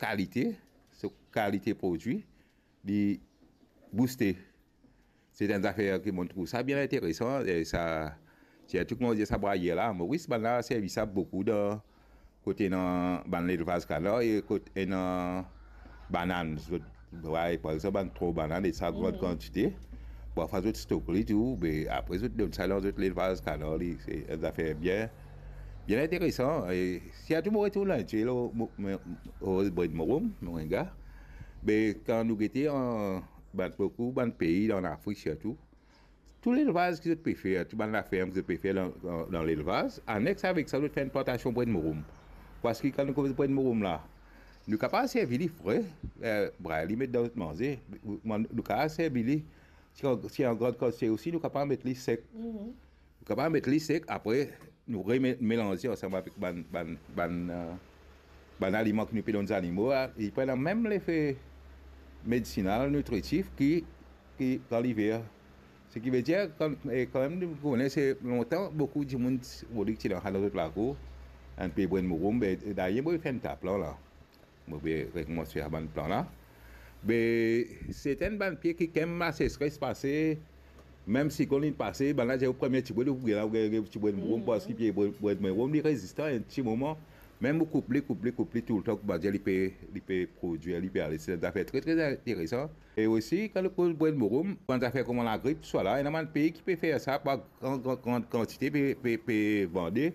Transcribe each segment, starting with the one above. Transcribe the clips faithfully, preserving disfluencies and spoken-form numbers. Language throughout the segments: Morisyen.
kalite, so kalite prodwi, li bouste. Se enn zafer ki mo trouv sa bien interesan, e sa, sirtou kouma dir sa, brayer la, Moris, bann la servi sa boukou dan, kot ena bann lelvaz kanar e kot ena banann. Zot, way, par exanp, bann tronk banann, e sa gran kantite. Parfwa zot stok li tou, be apre zot donn sa dan zot lelvaz kanar li. Se enn zafer bien, bien interesan. E sirtou mo retourn lor, mo, mo, mo, Bred Morom, Moringa. Be kan nou gete an, bann boukou, bann pei an Afrik sirtou, tou lelvaz ki zot pe fer, tou bann laferm ki zot pe fer dan, dan, dan lelvaz, anex avek sa, zot fer enn plantasion Bred Morom. Parski kan nou koz Bred Morom la, nou kapav servi li fre, eh, bray li, met dan zot manze, nou kapav servi li, si an, si an gran kantite osi, nou kapav met li sek. Nou kapav met li sek, apre nou remelanze ansam avek bann, bann, bann, eh, bann aliman ki nou pe donn zanimo la, li pou ena mem lefe medisinal, nitritif ki, ki kan liver. Seki vedir, kan, e, kanmem, nou kone se lontan, boukou dimoun ti, boukou ti dan, dan zot lakour, enn pie Bred Morom, be, dayer, mo pe fer enn ta plan la. Mo pe rekoumans fer bann plan la. Be, se enn bann pie ki, kan laseseres pase, mem siklonn li pase, bann la dir, o premie ti bred, ou gagn, ou gagn ti Bred Morom, parski pie Bred, Bred Morom, li rezistan enn ti moman. Mem ou koup li, koup li, koup li toultan, koumadir li pe, li pe prodwir, li pe ale. Se enn zafer tre, tre interesan. E osi, kan nou koz Bred Morom, bann zafer kouma lagrip, swa la, ena bann pei ki pe fer sa, pa gran, gran, gran kantite, pe, pe, pe vande,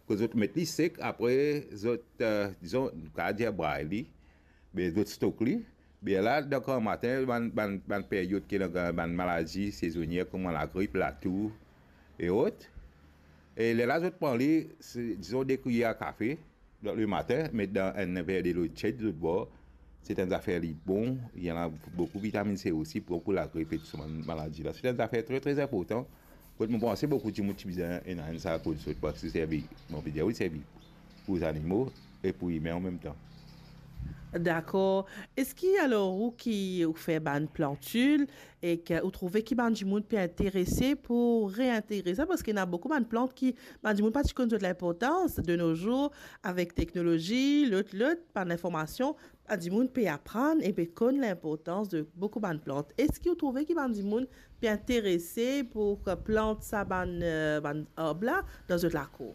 kot zot met li sek, apre zot, eh, dizon, nou kapav dir bray li, be zot stok li, be la, dan gran matin, bann, bann, bann peryod ki ena bann maladi sezonier, kouma lagrip, latour, e ot. E lerla zot pran li, se, dizon, de kwiyer kafe, dan lematin, met dan enn ver delo tied, zot bwar. Se enn zafer li bon, li ena boukou vitaminn C osi, bon pou lagrip e tou sa bann maladi la. Se enn zafer tre, tre inportan. Kot mo panse boukou dimoun ti bizin ena enn sa kot zot, parski servi, mo pe dir, wi, servi pou zanimo e pou imin an mem tan. Dakor. Eski alor ou ki ou fer bann plantil e ki ou trouve ki bann dimoun pe interese pou reintegre sa? Parski ena boukou bann plant ki bann dimoun pa ti konn zot linportans. De nos jours, avek teknolozi, lot, lot, bann linformasion, bann dimoun pe aprann e pe konn linportans de boukou bann plant. Eski ou trouve ki bann dimoun pe interese pou plant sa bann, eh, bann arb la dan zot lakour?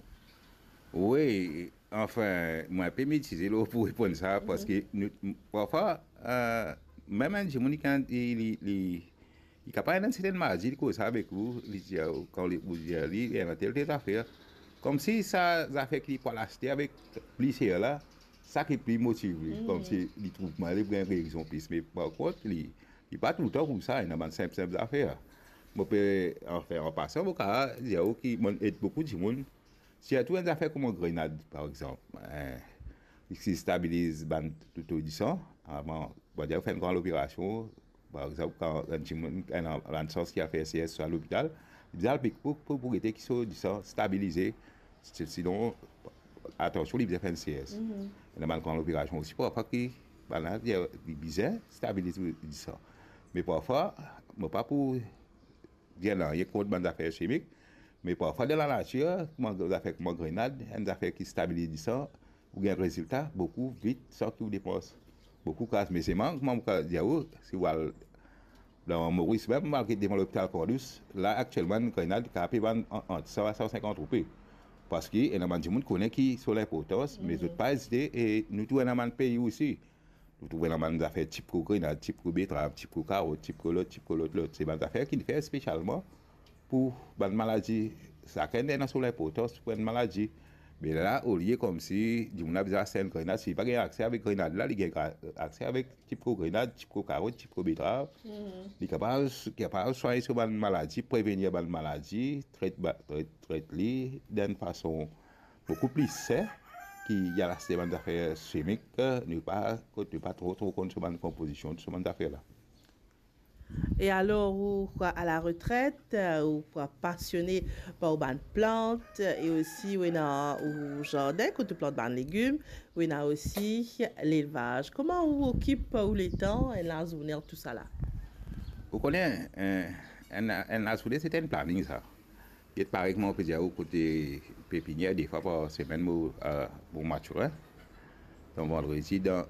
Wi, anfin, mo inpe mitize lor pou reponn sa, parski nou, parfwa, eh, mem enn dimoun li, li, li, li kapav ena enn sertenn maladi, li koz sa avek ou, li dir, kan li, ou dir li, li ena tel, tel zafer. Komsi sa zafer ki li pou al aste avek pli ser la, sa ki pli motiv li, komsi li trouv mwayin li pou gagn rezon plis. Me par kont, li, li pa toultan koumsa, ena bann sinp, sinp zafer. Mo pe, anfin, an pasan, mo kapav dir ou ki mo'nn ed boukou dimoun, sirtou enn zafer kouma grenad, par exanp, eh, ki stabiliz bann to, to disan. Avan, bann dir fer enn gran loperasion, par exanp, kan enn dimoun, enn, enn sans ki al fer C S swa lopital, li bizin al pik pou, pou, pou gete ki so disan stabilize. Si, sinon, atansion, li bizin fer enn C S. Ena bann gran loperasion osi, parfwa ki, bann la, li, li bizin stabiliz disan. Me parfwa, mo pa pou dir nanye kont bann zafer simik, me parfwa dan lanatir, kouma zafer kouma grenad, enn zafer ki stabiliz disan, ou gagn rezilta boukou vit san ki ou depans boukou kas. Me selman, kouma mo kapav dir ou, si ou al dan Moris mem, malgre devan lopital Croix-Rouge, la aktielman enn grenad kapav pe vann an, ant san a san sinkant roupi. Parski ena bann dimoun kone ki so linportans, me zot pa ezite, e nou tou ena bann pei osi. Nou trouve ena bann zafer tipko grenad, tipko betrav, tipko karot, tipko lot, tipko lot, lot. Se bann zafer ki fer spesialman pou bann maladi. Sakenn ena so linportans pou enn maladi. Me la, olie komsi dimoun la bizin aste enn grenad, si li pa gagn akse avek grenad la, li gagn gra-, akse avek tipko grenad, tipko karot, tipko betrav. Li kapav, kapav swagn so bann maladi, prevenir bann maladi, tret ba-, tret, tret li dan enn fason boukou pli sin ki al aste bann zafer simik, nou pa, kot nou pa tro, tro konn so bann konpozision, so bann zafer la. E alor, ou a la retret, ou pasione par bann plant, e osi ou ena ou zardin kot ou plant bann legim, ou ena osi lelvaz. Kouma ou okip ou letan, enn lazourne, tousala? Ou kone, eh, enn, enn lazourne, se enn planing sa. Get parey kouma ou pe dir ou kote pepinier, de fwa par semenn mo, eh, mo matirin. dan vandredi, dan,